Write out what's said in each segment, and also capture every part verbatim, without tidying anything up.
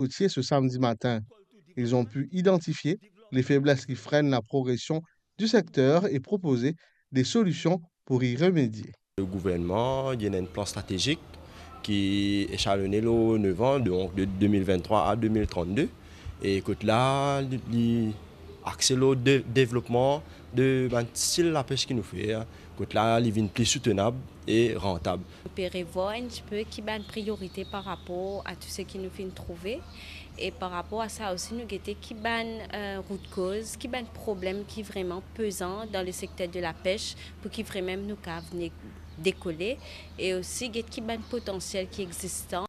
kotier ce samedi matin. Ils ont pu identifier les faiblesses qui freinent la progression du secteur et proposer des solutions pour y remédier. Le gouvernement, il y a un plan stratégique qui est jalonné le neuf ans, donc de deux mille vingt-trois à deux mille trente-deux. E kot la, li, li axe lor de, devlopman de bann stil lapes ki nou fer, kot la, li vinn pli soutenab e rantab. Nou pe revwar enn tipe ki bann priorite par rapor a tou seki nou finn trouve. E par rapor a sa osi, nou gete ki bann, eh, root cause, ki bann problem ki vreman pezan dan le sekter de lapes pou ki vreman nou kav vinn dekole, e osi get ki bann potansiel ki existe.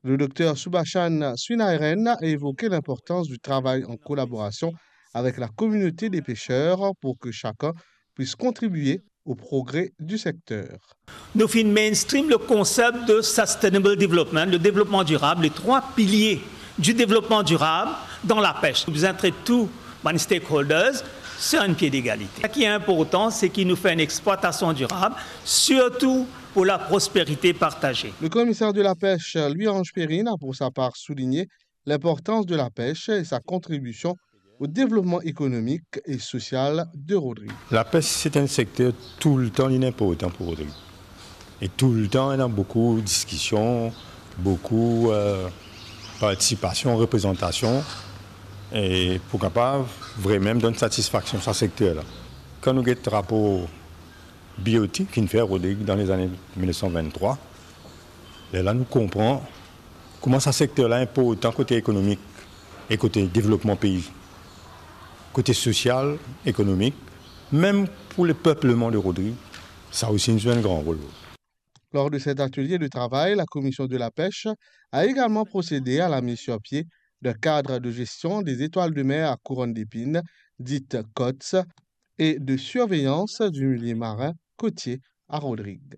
Le docteur Subhashan Srinaran a évoqué l'importance du travail en collaboration avec la communauté des pêcheurs pour que chacun puisse contribuer au progrès du secteur. Nou finn mainstream le concept de sustainable development, le développement durable, les trois piliers du développement durable dans la pêche. Nou bizin tret tou bann stakeholders sur un pied d'égalité. Ce qui est important, c'est que nou fer une exploitation durable, surtout pour la prospérité partagée. Le commissaire de la pêche, Louis-Ange Perrine, a pour sa part souligné l'importance de la pêche et sa contribution au développement économique et social de Rodrigue. Lapes, se enn sekter toultan li inportan pou Rodrig. E toultan, ena boukou diskision, boukou, eh, partisipasion, reprezantasion, e pou kapav vremem donn satisfaksion sa sekter la. Kan nou get rapor B O T ki'nn fer Rodrig dan lezane mil nef san vinn-trwa, lerla nou konpran kouma sa sekter la inportan kote ekonomik e kote devlopman pei, kote sosial, ekonomik, mem pou lepepleman de Rodrig, sa osi inn zwe enn gran rol. Lors de cet atelier de travail, la commission de la pêche a également procédé à la mise sur pied d'un cadre de gestion des étoiles de mer à couronne d'épines, dites COTS, et de surveillance du milieu marin côtier à Rodrigue.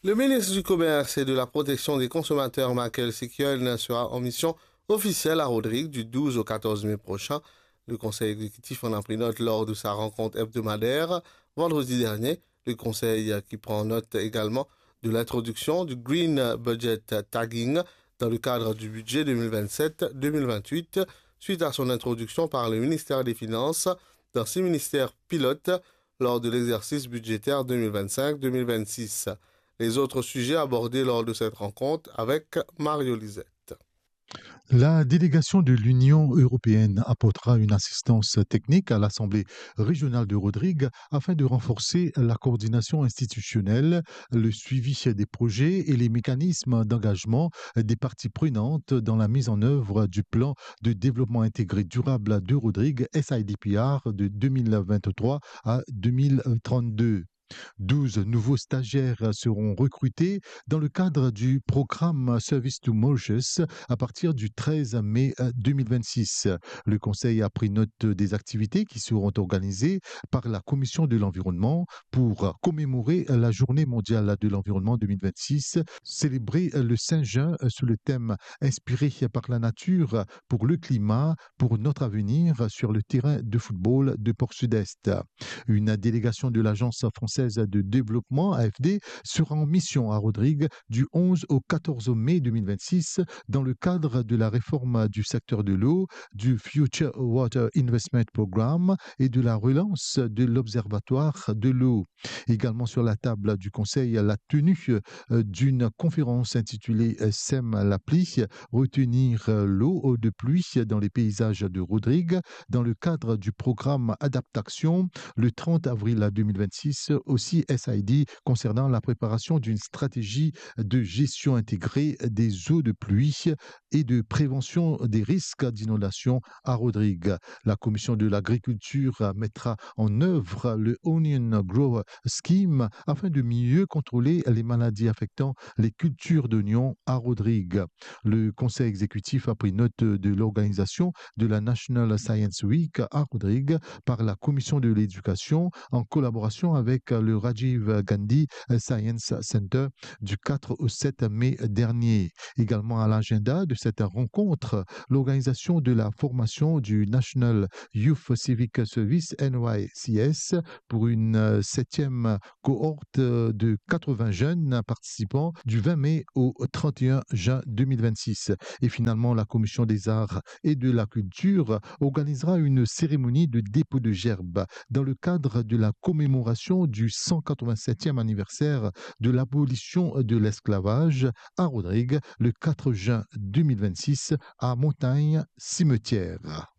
Le ministre du Commerce et de la Protection des Consommateurs, Michael Sekyol, sera en mission officielle à Rodrigue du douze au quatorze mai prochain. Le Conseil exécutif en a pris note lors de sa rencontre hebdomadaire vendredi dernier. Le Conseil, euh, qui prend note également de l'introduction du Green Budget Tagging dans le cadre du budget deux mille vingt-sept deux mille vingt-huit, suite à son introduction par le ministère des Finances dans six ministères pilotes lors de l'exercice budgétaire deux mille vingt-cinq deux mille vingt-six. Les autres sujets abordés lors de cette rencontre avec Mario Lisette. La délégation de l'Union européenne apportera une assistance technique à l'Assemblée régionale de Rodrigue afin de renforcer la coordination institutionnelle, le suivi des projets et les mécanismes d'engagement des parties prenantes dans la mise en œuvre du plan de développement intégré durable de Rodrigue, S I D P R, de deux mille vingt-trois à deux mille trente-deux. Douze nouveaux stagiaires seront recrutés dans le cadre du programme Service to Mauritius à partir du treize mai, euh, deux mille vingt-six. Le Conseil a pris note des activités qui seront organisées par la Commission de l'Environnement pour commémorer la Journée mondiale de l'environnement deux mille vingt-six, célébrée le cinq juin sous le thème inspiré par la nature pour le climat, pour notre avenir sur le terrain de football de Port-Sud-Est. Une délégation de l'Agence française de développement, A F D, sera en mission à Rodrigue du onze au quatorze mai deux mille vingt-six dans le cadre de la réforme du secteur de l'eau, du Future Water Investment Programme et de la relance de l'Observatoire de l'eau. Également sur la table du Conseil, la tenue, euh, d'une conférence intitulée, euh, Sème la pluie, retenir, euh, l'eau de pluie dans les paysages de Rodrigue, dans le cadre du programme Adaptaction, le trente avril deux mille vingt-six, aussi S I D, concernant la préparation d'une stratégie de gestion intégrée des eaux de pluie et de prévention des risques d'inondation à Rodrigue. La Commission de l'Agriculture mettra en œuvre le Onion Grower Scheme afin de mieux contrôler les maladies affectant les cultures d'oignons à Rodrigue. Le Conseil exécutif a pris note de l'organisation de la National Science Week à Rodrigue par la Commission de l'Éducation en collaboration avec le Rajiv Gandhi Science Center du quatre au sept mai dernier. Également à l'agenda de cette rencontre, l'organisation de la formation du National Youth Civic Service, N Y C S, pour une, euh, septième cohorte, euh, de quatre-vingts jeunes participants du vingt mai au trente et un juin deux mille vingt-six. Et finalement, la Commission des Arts et de la Culture organisera une cérémonie de dépôt de gerbe dans le cadre de la commémoration du cent quatre-vingt-septième anniversaire de l'abolition de l'esclavage à Rodrigues le quatre juin deux mille vingt-six à Montagne Cimetière.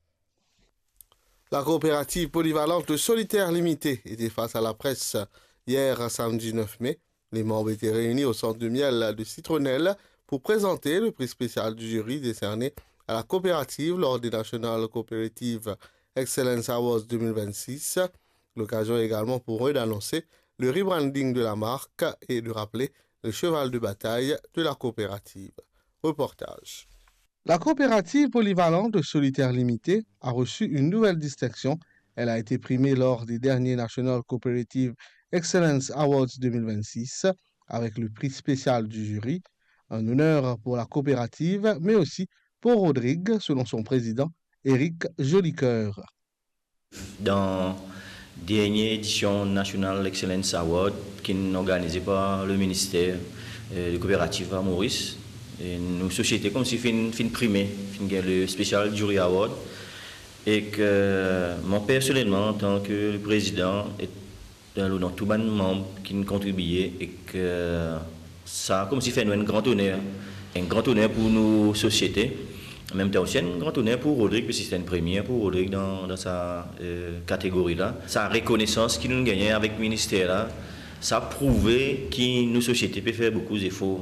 La coopérative polyvalente Le Solitaire Limité était face à la presse hier, samedi neuf mai. Les membres étaient réunis au centre de miel de Citronelle pour présenter le prix spécial du jury décerné à la coopérative lors des National Cooperative Excellence Awards deux mille vingt-six. L'occasion également pour eux d'annoncer le rebranding de la marque et de rappeler le cheval de bataille de la coopérative. Reportage. La coopérative polyvalente de Solitaire Limité a reçu une nouvelle distinction. Elle a été primée lors des derniers National Cooperative Excellence Awards deux mille vingt-six avec le prix spécial du jury, un honneur pour la coopérative, mais aussi pour Rodrigue, selon son président, Éric Jolicoeur. Dan dernie edision National Excellence Award ki'nn organize par le minister, eh, de kooperativ a Moris, e nou sosiete koumsi finn, finn prime, finn gagn le Special Jury Award, ek mwa personelman, antan ke le prezidan, e dan, dan tou bann manb ki'nn kontribie, ek sa koumsi fer nou enn gran oner, enn gran oner pou nou sosiete, an mem tan osi enn gran oner pou Rodrigue, parski se enn premie pou Rodrigue dan, dan sa, eh, kategori la. Sa rekonesans ki nou gagne avek minister la, sa prouve ki nou sosiete pe fer boukou zefor.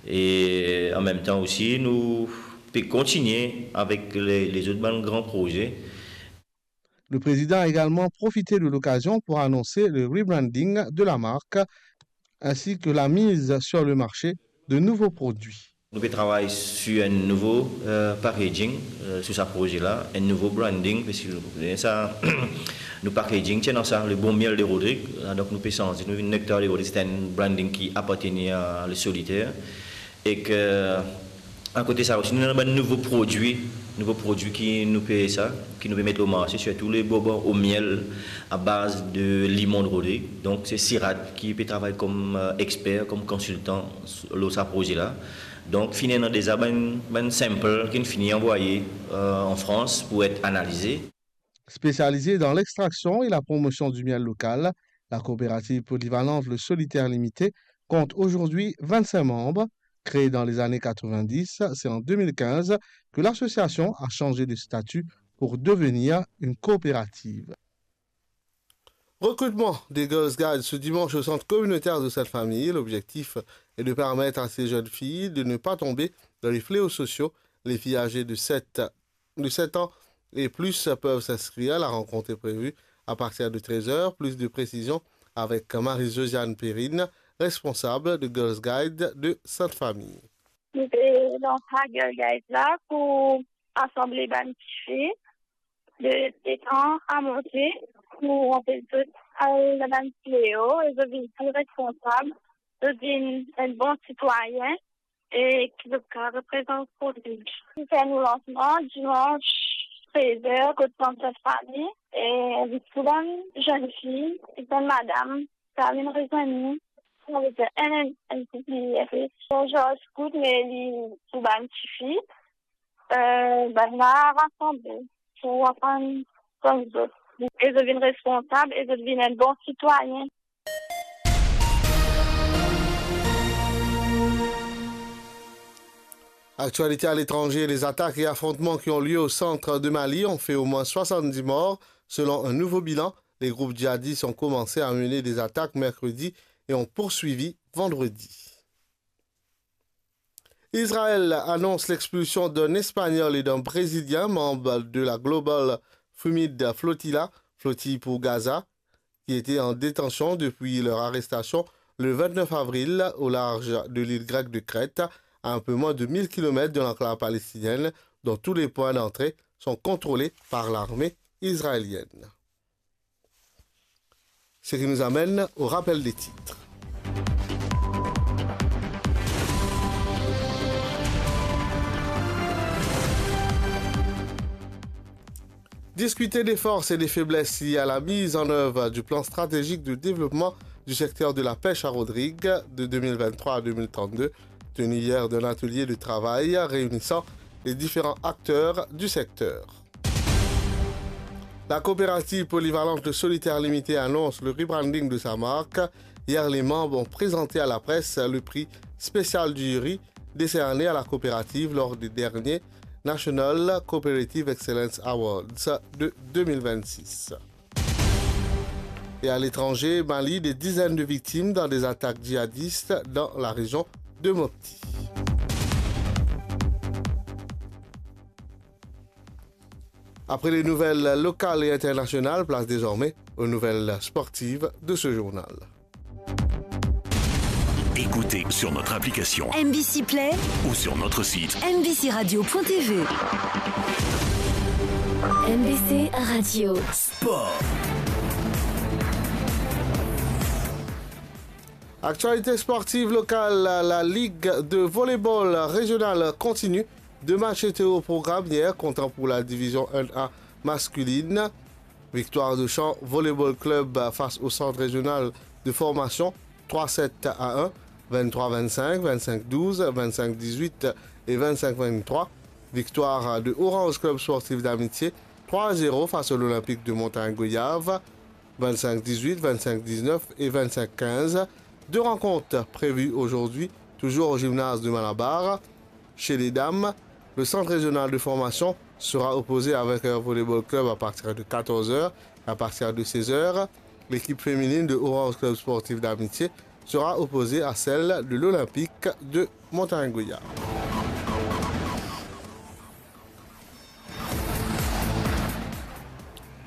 E an mem tan osi, nou pe kontinie avek le, lezot bann gran proze. Le président a également profité de l'occasion pour annoncer le rebranding de la marque ainsi que la mise sur le marché de nouveaux produits. Nou pe travay sir enn nouvo, eh, packaging, eh, sir sa proze la, enn nouvo branding, parski nou, sa, nou packaging ti ena sa, le bon miel de Rodrigue. Donk nou pe sanze, nou vinn Nectar de Rodrigue, se enn branding ki apartenir a Le Solitaire. Ek akote sa osi, nou ena bann nouvo prodwi, nouvo prodwi ki nou pe sa, ki nou pe met lor marse, sirtou le bonbon au miel à base de limon de Rodrigue. Donk se Sirat ki pe travay kom, eh, exper, kom konsiltan lor sa proze la. Donk finn ena deza bann, bann sample ki'nn fini anvwaye, eh, an Frans pou et analize. Spécialisée dans l'extraction et la promotion du miel local, la coopérative polyvalente Le Solitaire Limité compte aujourd'hui vingt-cinq membres. Créée dans les années quatre-vingt-dix, c'est en deux mille quinze que l'association a changé de statut pour devenir une coopérative. Recrutement des Girls Guides ce dimanche au centre communautaire de Sainte-Famille. L'objectif est de permettre à ces jeunes filles de ne pas tomber dans les fléaux sociaux. Les filles âgées de sept de sept ans et plus peuvent s'inscrire. La rencontre est prévue à partir de treize heures. Plus de précisions avec Marie-Josiane Perrine, responsable de Girls Guide de Sainte-Famille. Nou pe lans sa Girl Guide la pou rasanble bann tifi de sept ans à monter pou anpes zot al dan bann fléo e zot vinn pli responsab, zot vinn enn bon sitwayin. E ki zot kapav reprezant komin. Nou fer nou lansman dimans trez er kot sant Sainte-Famille e invit tou bann zennfi ek bann madam kapav vinn rezwenn nou. Savedir enn, enn, enn koup li, li enn pe zis scout, me li pou bann tifi, eh, bann la rasanble pou aprann koz zot. E zot vinn responsab e zot vinn enn bon sitwayin. Actualité à l'étranger, les attaques et affrontements qui ont lieu au centre de Mali ont fait au moins soixante-dix morts. Selon un nouveau bilan, les groupes djihadistes ont commencé à mener des attaques mercredi et ont poursuivi vendredi. Israël annonce l'expulsion d'un Espagnol et d'un Brésilien, membre de la Global Fumid Flotilla, flottille pour Gaza, qui étaient en détention depuis leur arrestation le vingt-neuf avril au large de l'île grecque de Crète, à un peu moins de mille kilomètres de l'enclave palestinienne, dont tous les points d'entrée sont contrôlés par l'armée israélienne. Ce qui nous amène au rappel des titres. Discuter des forces et des faiblesses liées à la mise en œuvre du plan stratégique de développement du secteur de la pêche à Rodrigues de deux mille vingt-trois à deux mille trente-deux, tenue hier d'un atelier de travail réunissant les différents acteurs du secteur. La coopérative polyvalente Le Solitaire Limité annonce le rebranding de sa marque. Hier, les membres ont présenté à la presse le prix spécial du jury décerné à la coopérative lors des derniers National Cooperative Excellence Awards de deux mille vingt-six. Et à l'étranger, Mali, des dizaines de victimes dans des attaques djihadistes dans la région de Mopti. Après les nouvelles locales et internationales, place désormais aux nouvelles sportives de ce journal. Écoutez sur notre application M B C Play ou sur notre site M B C radio point T V. M B C Radio. Sport. Actualité sportive locale, la, la Ligue de volleyball régional continue. Deux matchs étaient au programme hier, comptant pour la division un A masculine. Victoire de Champ Volleyball Club face au Centre Régional de Formation, trois sept à un, vingt-trois vingt-cinq, vingt-cinq douze, vingt-cinq dix-huit et vingt-cinq vingt-trois. Victoire de Orange Club Sportif d'Amitié, trois zéro face à l'Olympique de Montagne Goyave, vingt-cinq dix-huit, vingt-cinq dix-neuf et vingt-cinq quinze. Deux rencontres prévues aujourd'hui, toujours au gymnase de Malabar. Chez les dames, le Centre Régional de Formation sera opposé à Vainqueur Volleyball Club à partir de quatorze heures. À partir de seize heures, l'équipe féminine de Orange Club Sportif d'Amitié sera opposée à celle de l'Olympique de Montagne Goyave.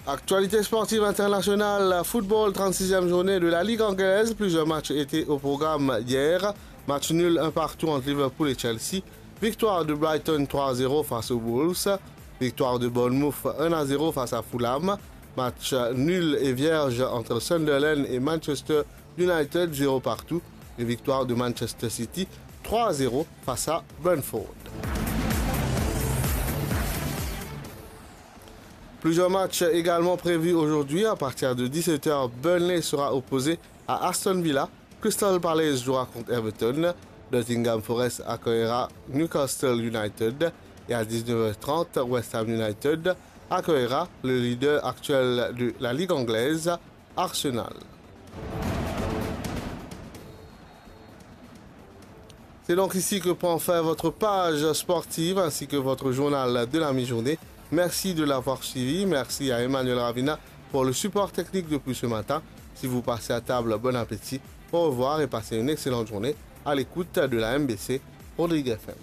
Actualité sportive internationale, football, trente-sixième journée de la Ligue anglaise. Plusieurs matchs étaient au programme hier. Match nul un partout entre Liverpool et Chelsea. Victoire de Brighton trois zéro face aux Wolves. Victoire de Bournemouth un à zéro face à Fulham. Match nul et vierge entre Sunderland et Manchester United, zéro partout. Et victoire de Manchester City trois zéro face à Brentford. Plusieurs matchs également prévus aujourd'hui. À partir de dix-sept heures, Burnley sera opposé à Aston Villa. Crystal Palace jouera contre Everton. Nottingham Forest accueillera Newcastle United. Et à dix-neuf heures trente, West Ham United accueillera le leader actuel de la Ligue anglaise, Arsenal. C'est donc ici que prend fin votre page sportive ainsi que votre journal de la mi-journée. Merci de l'avoir suivi. Merci à Emmanuel Ravina pour le support technique depuis ce matin. Si vous passez à table, bon appétit. Au revoir et passez une excellente journée à l'écoute de la M B C Rodrigues F M.